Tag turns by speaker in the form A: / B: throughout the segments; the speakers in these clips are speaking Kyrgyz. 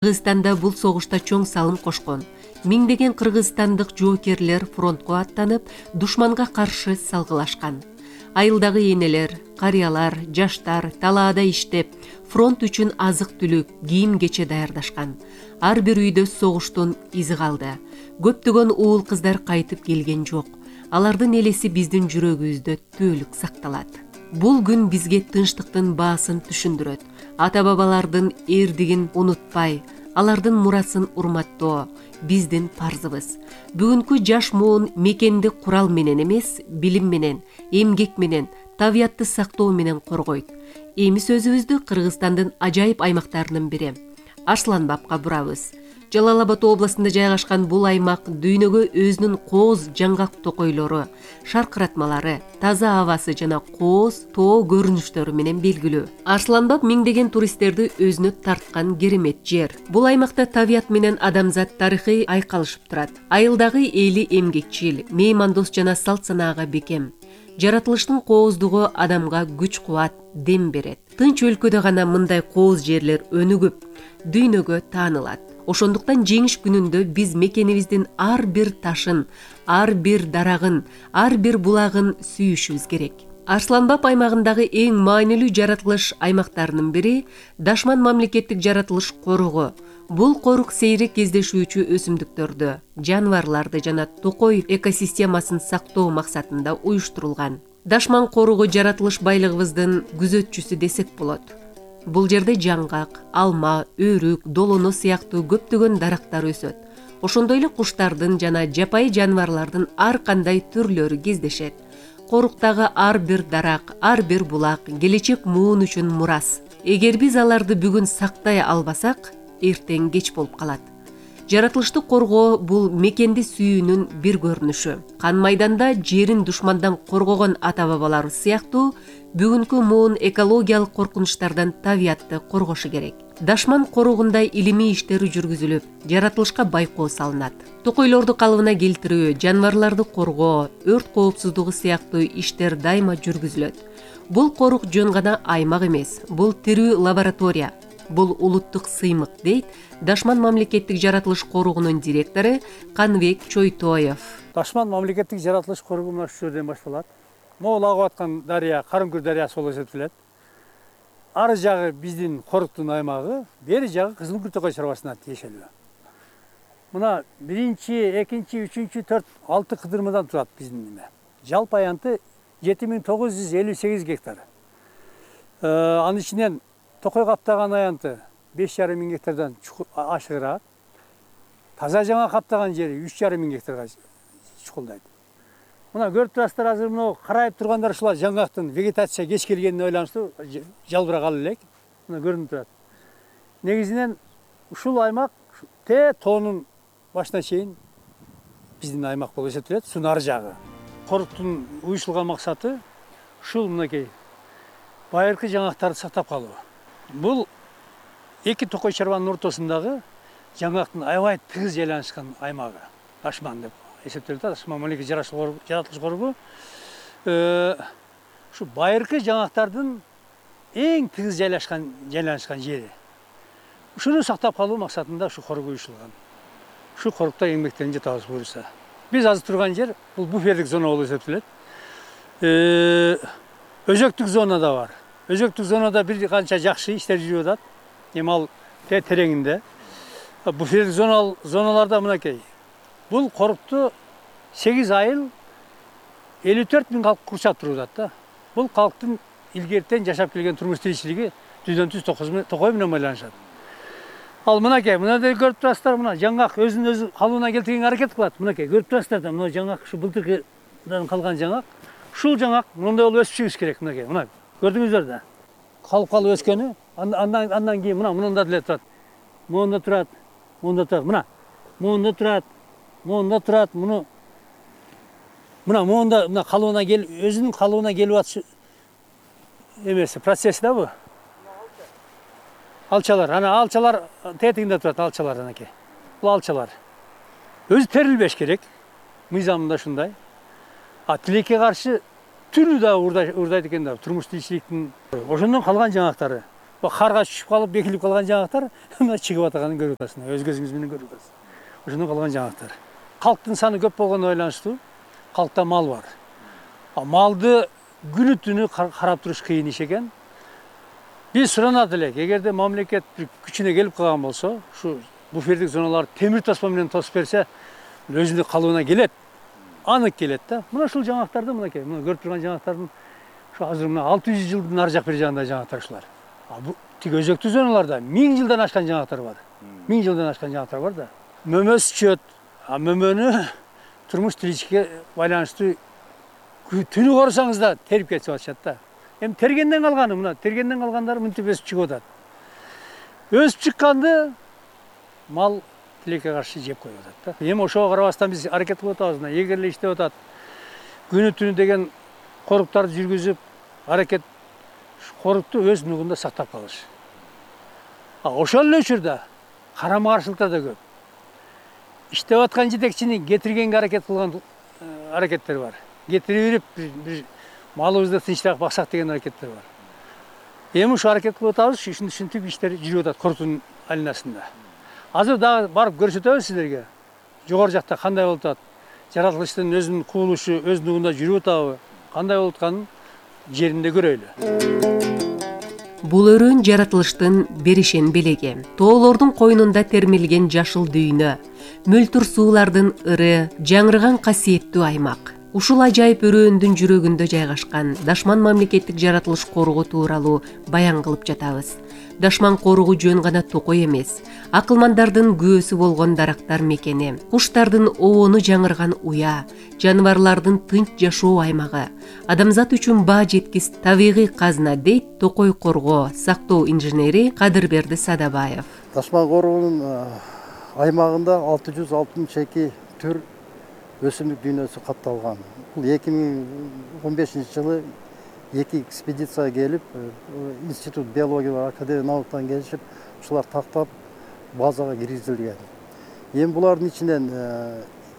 A: Кыргызстанда бул согушта чоң салым кошкон. Миңдеген кыргызстандык жоокерлер фронтко аттанып, душманга каршы салгылашкан. Айылдагы энелер, карыялар, жаштар талаада иштеп, фронт үчүн азык-түлүк, кийим-кече даярдашкан. Ар бир үйдө согуштун изи калды. Көптөгөн уул кыздар кайтып келген жок. Алардын элеси биздин жүрөгүбүздө түбөлүк сакталат. Бул күн бизге тынчтыктын баасын түшүндүрөт. Ата-бабалардын эрдигин унутпай, алардын мурасын урматтоо биздин парзыбыз. Бүгүнкү жаш муун мекенди курал менен эмес, билим менен, эмгек менен, табиятты сактоо менен коргойт. Эми сөзүбүздү Кыргызстандын ажайып аймактарынын бири Арсланбапка бурабыз. Жалал Абад областында жайгашкан бул аймак дүйнөгө өзүнүн кооз жаңгак токойлору, шаркыратмалары, таза абасы жана кооз тоо көрүнүштөрү менен белгилүү. Арсланбап миңдеген туристтерди өзүнө тарткан керемет жер. Бул аймакта табият менен адамзат тарыхый айкалышып турат. Айылдагы эли эмгекчил, меймандос жана салт санаага бекем. Жаратылыштын кооздугу адамга күч-кубат, дем берет. Тынч өлкөдө гана мындай кооз жерлер өнүгүп, дүйнөгө таанылат. Ошондуктан жеңиш күнүндө биз мекенибиздин ар бир ташын, ар бир дарагын, ар бир булагын сүйүшүбүз керек. Арсланбап аймагындагы эң маанилүү жаратылыш аймактарынын бири Дашман мамлекеттик жаратылыш коругу. Бул корук сейрек кездешүүчү өсүмдүктөрдү, жаныбарларды жана токой экосистемасын сактоо максатында уюштурулган. Дашман коругу жаратылыш байлыгыбыздын күзөтчүсү десек болот. Бул жерде жаңгак, алма, өрүк, долоно сыяктуу көптөгөн дарактар өсөт. Ошондой эле куштардын жана жапайы жаныбарлардын ар кандай түрлөрү кездешет. Коруктагы ар бир дарак, ар бир булак келечек муун үчүн мурас. Эгер биз аларды бүгүн сактай албасак, эртең кеч болуп калат. Жаратылышты коргоо бул мекенди сүйүүнүн бир көрүнүшү. Кан майданда жерин душмандан коргогон ата-бабалар сыяктуу бүгүнкү муун экологиялык коркунучтардан табиятты коргошу керек. Дашман коругундай илимий иштер жүргүзүлүп, жаратылышка байкоо салынат. Токойлорду калыбына келтирүү, жаныбарларды коргоо, өрт коопсуздугу сыяктуу иштер дайыма жүргүзүлөт. Бул корук жөн гана аймак эмес, бул тирүү лаборатория. Бул улуттук сыймык, дейт Дашман мамлекеттик жаратылыш коругунун директору Канбек Чойтоев.
B: Дашман мамлекеттик жаратылыш коругу мына ушул жерден башталат. Могул агып аткан дарыя, Карымкүр дарыясы болуп эсептелет. Ары жагы биздин коруктун аймагы, бери жагы Кызылкүр токой чарбасына тиешелүү. Мына 1, 2, 3, 4, 6 кыдырмадан турат биздин эме. Жалпы аянты 7958 гектар. Анын ичинен токой каптаган аянты 5,5 миң гектардан ашыгыраак. Таза жаңа каптаган жери 3,5 миң гектарга чукулдайт. Мына көрүп турасыздар, азыр мына карайып тургандар ушулар жаңгактын вегетация кеч келгенине байланыштуу жалбырак алып элек. Мына көрүнүп турат. Негизинен ушул аймак тоонун башына чейин биздин аймак болуп эсептелет, сунун ары жагы. Коруктун уюшулган максаты ушул мынакей байыркы жаңгактарды сактап калуу. Бул эки токой чарбанын ортосундагы жаңгактын аябай тыгыз жайланышкан аймагы. Дашман деп эсептелет. Дашман мамлекеттик жаратылыш коругу ушу байыркы жаңгактардын эң тыгыз жайланышкан жери. Ушуну сактап калуу максатында ушу корук уюшулган. Ушу корукта эмгектенип жатабыз буюрса. Биз азыр турган жер бул буферлик зона болуп эсептелет. Өзөктүк зона да бар. Өзөктүк зонада бир канча жакшы иштер жүрүп атат. Эми ал тереңинде. Буферлик зоналарда мынакей. Бул корукту 8 айыл 54 миң калк курчап туруп атат да. Бул калктын илгертен жашап келген турмуш тиричилиги түздөн түз токой менен байланышат. Ал мынакей, мына көрүп турасыздар, мына жаңгак өзүн калыбына келтиргенге аракет кылат. Мынакей көрүп турасыздар да, мына жаңгак ушу былтыркыдан калган жаңгак. Ушул жаңгак мындай болуп өсүшүбүз керек, мынакей. Мына көрдүңүздөр да. Калып өскөнү, андан кийин мында деле турат. Мында турат, мына. Мында турат, мында турат, мына калыбына өзүнүн калыбына келип атышы эмеси, процесси да бу. Алчалар, алчалар тетигинде турат, алчалар анакей. Бул алчалар. Өзү терилбеш керек. Мыйзамында ушундай. Тилекке каршы түрү да урдайт экен да, турмуш тиричиликтин. Ошондон калган жаңгактары. карга түшүп калып бекилип калган жаңактар мына чыгып атаганын көрүп атасың, өз көзүңүз менен көрүп атасыз. Ошондон калган жаңактар. Калктын саны көп болгону байланыштуу калкта мал бар. Малды күнү түнү карап туруш кыйын иш экен. Биз суранат элек, эгерде мамлекет күчүнө келип калган болсо, ушу буфердик зоналарды темир таспа менен тосуп берсе, өзүнүн калыбына келет. Анык келет да. Мына ушул жаңактарды мынакей, мына көрүп турган жаңактардын ушу азыр мына 600 жылдын ары жак бери жагында жаңактар ушулар. Тиги өзөктүү зоналарда 1000 жылдан ашкан жаңактар бар. 1000 жылдан ашкан жаңактар бар да. Мөмө сүчөт. Мөмөнү турмуш тиричке байланыштуу түнү корусаңыз да терип кетип атышат да. Эми тергенден калганы мына, тергенден калгандары мынтип өсүп чыгып атат. Өсүп чыкканды мал тилекке каршы жеп коюп атат да. Эми ошого карабастан биз аракет кылып атабыз, мына эгерле иштеп атат. Күнү түнү деген коруктарды жүргүзүп, аракет корукту өз нугунда сактап калыш. Ошол эле учурда карама-каршылыктар да көп. Иштеп аткан жетекчини кетиргенге аракет кылган аракеттер бар. Кетирип бир малыбызды тынчыраак баксак деген аракеттер бар. Эми ушу аракет кылып атабыз, ушинтип иштер жүрүп атат коруктун алинасында. Азыр дагы барып көрсөтөбүз силерге. Жогору жакта кандай болуп атат? Жаратылыштын өзүнүн кубулушу өз нугунда жүрүп атабы? Кандай болуп атканын жеринде көрөйлү.
A: Бул өрөөн жаратылыштын беришен белеги. Тоолордун койнунда термелген жашыл дүйнө, мөлтүр суулардын ыры, жаңырган касиеттүү аймак. Ушул ажайып өрөөндүн жүрөгүндө жайгашкан Дашман мамлекеттик жаратылыш коргоо тууралуу баян кылып жатабыз. Дашман коргоо жөн гана токой эмес, акылмандардын көөсү болгон дарактар мекени, куштардын обону жаңырган уя, жаныбарлардын тынч жашоо аймагы, адамзат үчүн баа жеткис табигый казына дейт Токой коргоо сактоо инженери Кадырберди Садабаев.
C: Дашман коргоонун аймагында 662 түр өсүмдүк дүйнөсү катталган. Бул 2015-жылы 2 экспедиция келип, Институт биология академия науктан келишип, ушулар тактап базага киргизилген. Эми булардын ичинен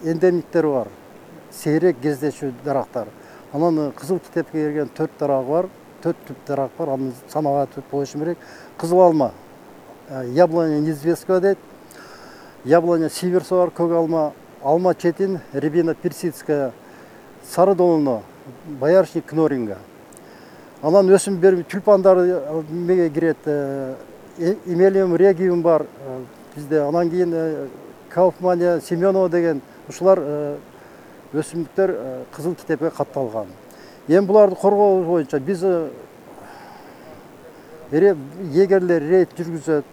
C: эндемиктер бар, сейрек кездешүү дарактар. Анан кызыл китепке кирген 4 дарак бар, 4 түп дарак бар, аны санага түп болушу керек. Кызыл алма, яблоня неизвестка дейт, яблоня сиверса бар, көк алма, алма четин, рябина персидская, сары долуно, боярышник кноринга. Анан өсүм берип тюльпандар меге кирет, эмелиум региум бар бизде. Анан кийин Кауфмания, Семенова деген ушулар өсүмдүктөр кызыл китепке катталган. Эми буларды коргоо боюнча биз эгерлер рейд жүргүзөт,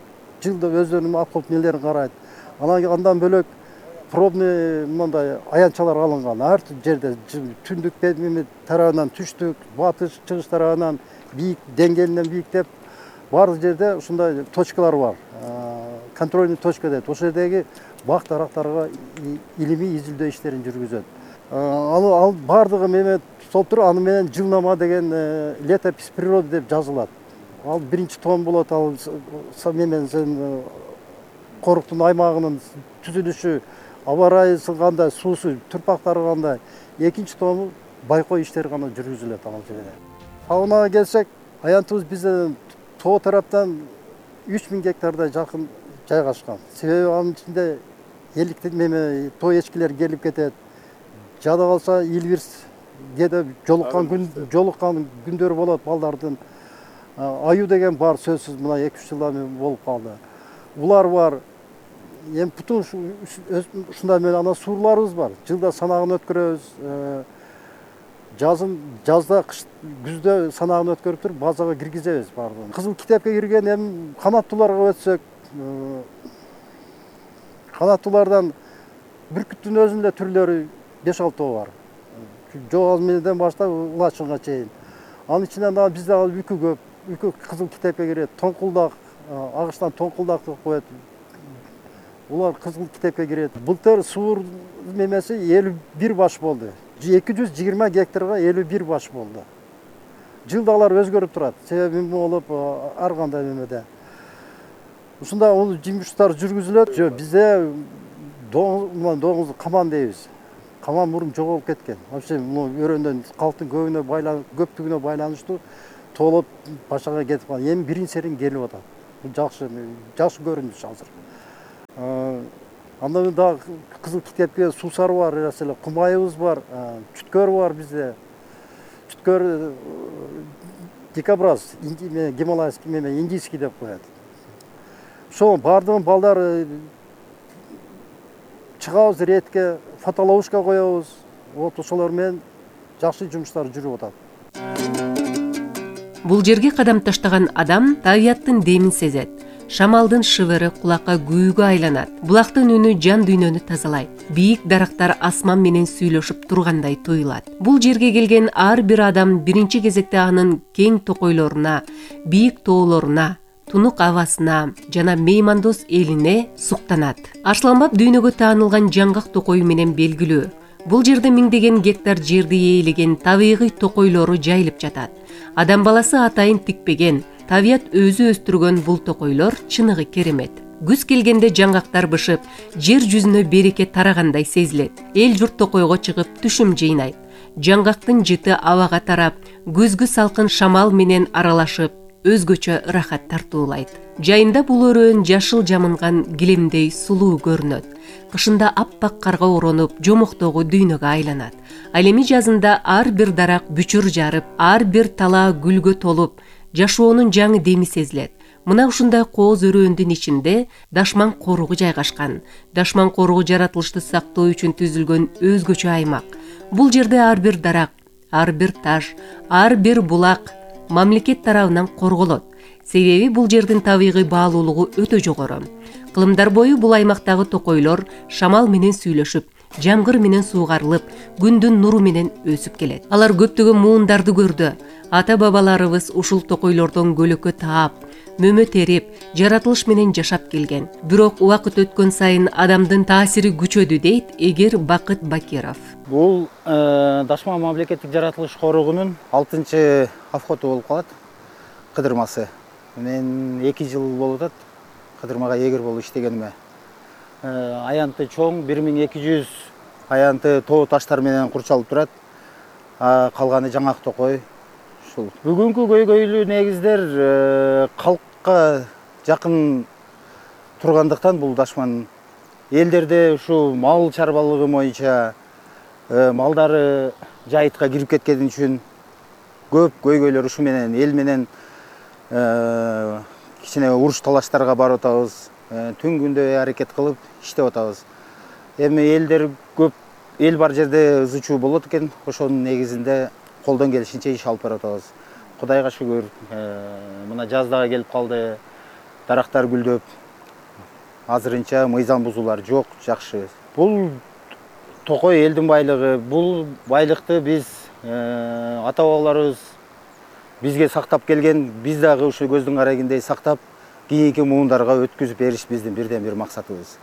C: жылда өздөрүнүн акыл нелерин карайт. Андан бөлөк пробный мындай аянтчалар алынган. Ар жерде түндүк тарабынан түштүк, батыш, чыгыш тарабынан бийик, деңгээлинен бийиктеп, баардык жерде ушундай точкалар бар. Контрольный точка дейт. Ошол жердеги бак дарактарга илимий изилдөө иштерин жүргүзөт. Ал баардыгы эме толтуруп, аны менен жылнама деген летопись природы деп жазылат. Ал биринчи том болот, ал менен коруктун аймагынын түзүлүшү, аба ырайы кандай, суусу, турпактары кандай. Экинчи тому байкоо иштери гана жүргүзүлөт ал жерде. Фаунага келсек, аянтыбыз бизде тоо тараптан 3000 гектардай жакын жайгашкан. Себеби анын ичинде эликтен тоо эчкилер келип кетет. Жада калса илбирс кээде жолуккан күндөрү болот балдардын. Аю деген бар, сөзсүз мына 2-3 жылдан болуп калды. Улар бар. Эми бутун ушундай менен анан суурларыбыз бар. Жылда санагын өткөрөбүз. Жазда, күздө санагын өткөрүп туруп базага киргизебиз баардыгын. Кызыл китепке кирген эми канаттууларга өтсөк, канаттуулардан бүркүттүн өзүндө түрлөрү 5-6 бар. Жоозменен баштап улачынга чейин. Анын ичинен дагы бизде үкү көп. Үкү кызыл китепке кирет. Тоңкулдак, агыштан тоңкулдакты коет. Улар кызыл китепке кирет. Былтыр суур немеси 51 баш болду. 220 гектарга 51 баш болду. Жылда алар өзгөрүп турат. Себеби болуп ар кандай немеде. Ушундай жумуштар жүргүзүлөт. Бизде доңузду каман дейбиз. Каман мурун жоголуп кеткен. Вообще өрөөндөн калктын көптүгүнө байланыштуу толуп башага кетип калган. Эми биринчи серин келип атат. Бул жакшы көрүнүш азыр. Андан дагы Кызыл Китепке суусары бар, эле кумайыбыз бар, чүткөр бар бизде. Чүткөр дикобраз, гималайский менен индийский деп коет. Ошо бардыгын балдар чыгабыз ретке, фотоловушка коебуз. Вот ошолор менен жакшы жумуштар жүрүп атат.
A: Бул жерге кадам таштаган адам табияттын демин сезет. Шамалдын шыбыры кулакка күүгө айланат. Булактын үнү жан дүйнөнү тазалайт. Бийик дарактар асман менен сүйлөшүп тургандай туюлат. Бул жерге келген ар бир адам биринчи кезекте анын кең токойлоруна, бийик тоолоруна, тунук абасына жана меймандос элине суктанат. Арсланбап дүйнөгө таанылган жаңгак токою менен белгилүү. Бул жерде миңдеген гектар жерди ээлеген табигый токойлору жайылып жатат. Адам баласы атайын тикпеген, табият өзү өстүргөн бул токойлор чыныгы керемет. Күз келгенде жаңгактар бышып, жер жүзүнө береке тарагандай сезилет. Эл журт токойго чыгып түшүм жыйнайт. Жаңгактын жыты абага тарап, күзгү салкын шамал менен аралашып, өзгөчө ырахат тартуулайт. Жайында бул өрөөн жашыл жамынган килемдей сулуу көрүнөт. Кышында аппак карга оронуп, жомоктогу дүйнөгө айланат. Ал эми жазында ар бир дарак бүчүр жарып, ар бир талаа гүлгө толуп, жашоонун жаңы деми сезилет. Мына ушундай кооз өрөөндүн ичинде Дашман коругу жайгашкан. Дашман коругу жаратылышты сактоо үчүн түзүлгөн өзгөчө аймак. Бул жерде ар бир дарак, ар бир таш, ар бир булак мамлекет тарабынан корголот. Себеби бул жердин табигый баалуулугу өтө жогору. Кылымдар бою бул аймактагы токойлор шамал менен сүйлөшүп, жамгыр менен суугарылып, күндүн нуру менен өсүп келет. Алар көптөгөн муундарды көрдү. Ата бабаларыбыз ушул токойлордон көлөкө таап, мөмө терип, жаратылыш менен жашап келген. Бирок убакыт өткөн сайын адамдын таасири күчөдү дейт Эгер Бакыт Бакиров.
D: Бул Дашман мамлекеттик жаратылыш коругунун 6-чы авходу болуп калат. Кыдырмасы. Мен 2 жыл болуп атат кыдырмага эгер болуп иштегениме. Аянты чоң 1200 аянты тоо таштар менен курчалып турат. Калганы жаңак токой. Ушул бүгүнкү көйгөйлүү негиздер калкка жакын тургандыктан бул Дашман элдерде ушу мал чарбалыгы боюнча малдары жайытка кирип кеткени үчүн көп көйгөйлөр ушу менен эл менен кичине уруш талаштарга барып атабыз. Түн күндө аракет кылып иштеп атабыз. Эми элдер көп эл бар жерде ызычуу болот экен. Ошонун негизинде колдон келишинче иш алып барып атабыз. Кудайга шүгүр, мына жаз дагы келип калды. Дарактар гүлдөп, азырынча мыйзам бузуулар жок, жакшы. Бул токой элдин байлыгы. Бул байлыкты биз ата бабаларыбыз бизге сактап келген, биз дагы ушу көздүн карагындей сактап, кийинки муундарга өткүзүп бериш биздин бирден бир максатыбыз.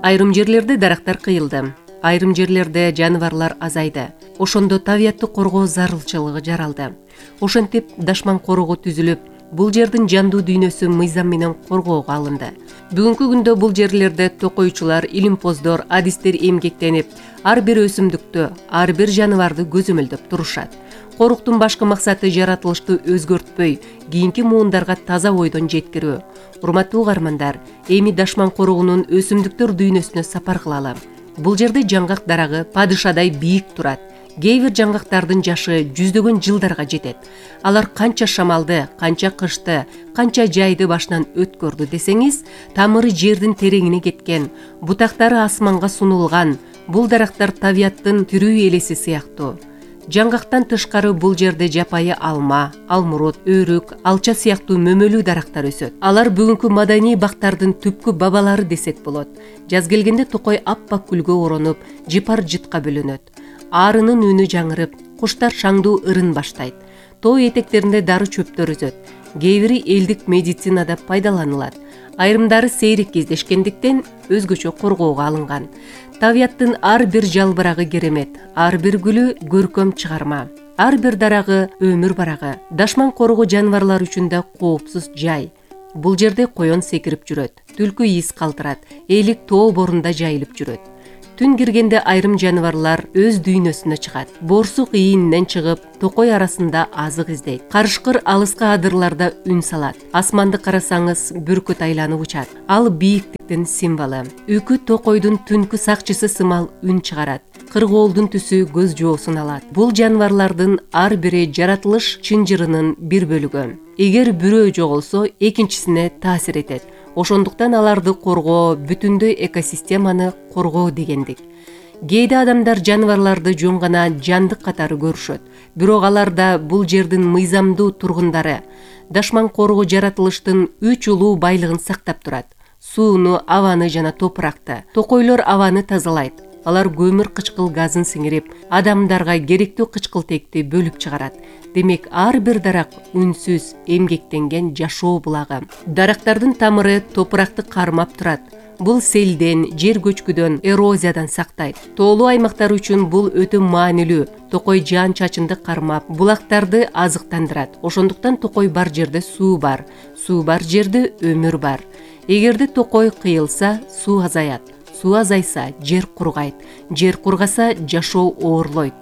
A: Айрым жерлерде дарактар кыйылды. Айрым жерлерде жаныбарлар азайды. Ошондо табиятты коргоо зарылчылыгы жаралды. Ошентип Дашман коругу түзүлүп, бул жердин жандуу дүйнөсү мыйзам менен коргоого алынды. Бүгүнкү күндө бул жерлерде токойчулар, илимпоздор, адистер эмгектенип, ар бир өсүмдүктү, ар бир жаныбарды көзөмөлдөп турушат. Коруктун башкы максаты жаратылышты өзгөртпөй, кийинки муундарга таза ойдон жеткирүү. Урматтуу угармандар, эми Дашман коругунун өсүмдүктөр дүйнөсүнө сапар кылалы. Бул жерде жаңгак дарагы падышадай бийик турат. Кээ бир жаңгактардын жашы жүздөгөн жылдарга жетет. Алар канча шамалды, канча кышты, канча жайды башынан өткөрдү десеңиз, тамыры жердин тереңине кеткен, бутактары асманга сунулган, бул дарактар табияттын тирүү элеси сыяктуу. Жаңгактан тышкары бул жерде жапайы алма, алмурут, өрүк, алча сыяктуу мөмөлүү дарактар өсөт. Алар бүгүнкү маданий бактардын түпкү бабалары десек болот. Жаз келгенде токой аппак күлгө оронуп, жыпар жытка бөлөнөт. Арынын үнү жаңырып, куштар шаңдуу ырын баштайт. Тоо этектеринде дары чөптөр өсөт. Кээ бири элдик медицинада пайдаланылат. Айрымдары сейрек кездешкендиктен өзгөчө коргоого алынган. Табияттын ар бир жалбырагы керемет, ар бир гүлү көркөм чыгарма, ар бир дарагы өмүр барагы. Дашман коругу жаныбарлар үчүн да коопсуз жай. Бул жерде коен секирип жүрөт, түлкү из калтырат, элик тоо борунда жайылып жүрөт. Түн киргенде айрым жаныбарлар өз дүйнөсүнө чыгат. Борсук ийининен чыгып, токой арасында азык издейт. Карышкыр алыска адырларда үн салат. Асманды карасаңыз, бүркүт айланып учат. Ал бийиктиктин символу. Үкү токойдун түнкү сакчысы сымал үн чыгарат. Кыргоолдун түсү көз жоосун алат. Бул жаныбарлардын ар бири жаратылыш чынжырынын бир бөлүгү. Эгер бирөө жоголсо, экинчисине таасир этет. Ошондуктан аларды коргоо бүтүндөй экосистеманы коргоо дегендик. Кээде адамдар жаныбарларды жөн гана жандык катары көрүшөт. Бирок алар да бул жердин мыйзамдуу тургундары. Дашман коргоо жаратылыштын 3 улуу байлыгын сактап турат. Сууну, абаны жана топуракты. Токойлор абаны тазалайт. Алар көмүр кычкыл газын сиңирип, адамдарга керектүү кычкылтекти бөлүп чыгарат. Демек, ар бир дарак үнсүз, эмгектенген жашоо булагы. Дарактардын тамыры топуракты кармап турат. Бул селден, жер көчкүдөн, эрозиядан сактайт. Тоолуу аймактар үчүн бул өтө маанилүү. Токой жаан чачынды кармап, булактарды азыктандырат. Ошондуктан токой бар жерде суу бар. Суу бар жерде өмүр бар. Эгерде токой кыйылса, суу азаят. Суу азайса, жер кургайт. Жер кургаса, жашоо оорлойт.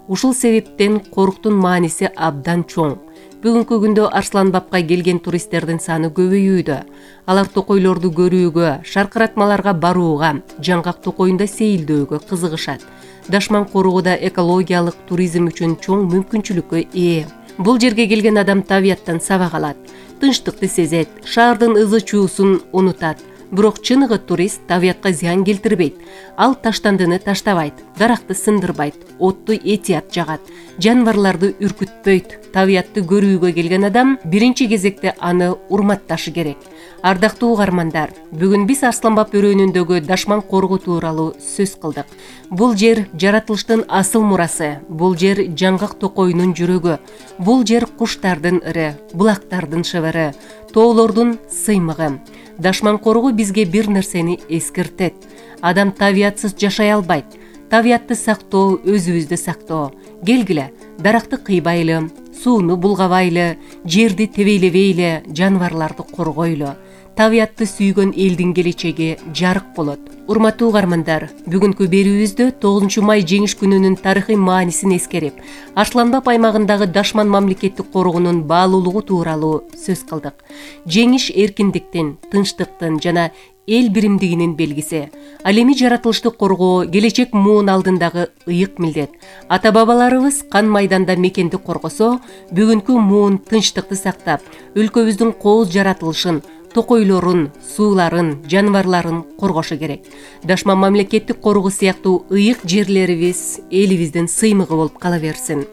A: Ушул себептен коруктун мааниси абдан чоң. Бүгүнкү күндө Арсланбапка келген туристтердин саны көбөйүүдө. Алар токойлорду көрүүгө, шаркыратмаларга барууга, жаңгак токоюнда сейилдөөгө кызыгышат. Дашман коргоодо экологиялык туризм үчүн чоң мүмкүнчүлүккө ээ. Бул жерге келген адам табияттан сабак алат, тынчтыкты сезет, шаардын ызы-чуусун унутат. Бирок чыныгы турист табиятка зыян келтирбейт. Ал таштандыны таштабайт, даракты сындырбайт, отту этият жагат, жаныбарларды үркүтпөйт. Табиятты көрүүгө келген адам биринчи кезекте аны урматташы керек. Ардактуу угармандар, бүгүн биз Арсланбап өрөөнүндөгү дашман коргоо тууралуу сөз кылдык. Бул жер жаратылыштын асыл мурасы, бул жер жаңгак токоюнун жүрөгү, бул жер куштардын ыры, булактардын шыбыры, тоолордун сыймыгы. Дашман коргоо бизге бир нерсени эскертет. Адам табиятсыз жашай албайт. Табиятты сактоо, өзүбүздү сактоо. Келгиле, даракты кыйбайлы, сууну булгабайлы, жерди тебейлебейле, жаныбарларды коргойлу. Табиятты сүйгөн элдин келечеги жарык болот. Урматтуу угармандар, бүгүнкү берүүбүздө 9 май жеңиш күнүнүн тарыхый маанисин эскерип, Арсланбап аймагындагы Дашман мамлекеттик коргоонун баалуулугу тууралуу сөз кылдык. Жеңиш эркиндиктин, тынчтыктын жана эл биримдигинин белгиси. Ал эми жаратылышты коргоо келечек муун алдындагы ыйык милдет. Ата-бабаларыбыз кан майданда мекенди коргосо, бүгүнкү муун тынчтыкты сактап, өлкөбүздүн кооз жаратылышын, токойлорун, сууларын, жаныбарларын коргошу керек. Дашман мамлекеттик коргоо сыяктуу ыйык жерлерибиз элибиздин сыймыгы болуп кала берсин.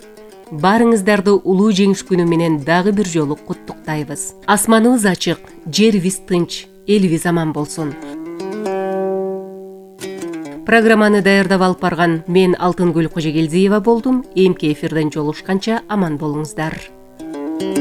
A: Баарыңыздарды улуу жеңиш күнү менен дагы бир жолу куттуктайбыз. Асманыбыз ачык, жерибиз тынч, элибиз аман болсун. Программаны даярдап алып барган мен Алтынгүл Кожогелдиева болдум. Эмки эфирден жолугушканча аман болуңуздар.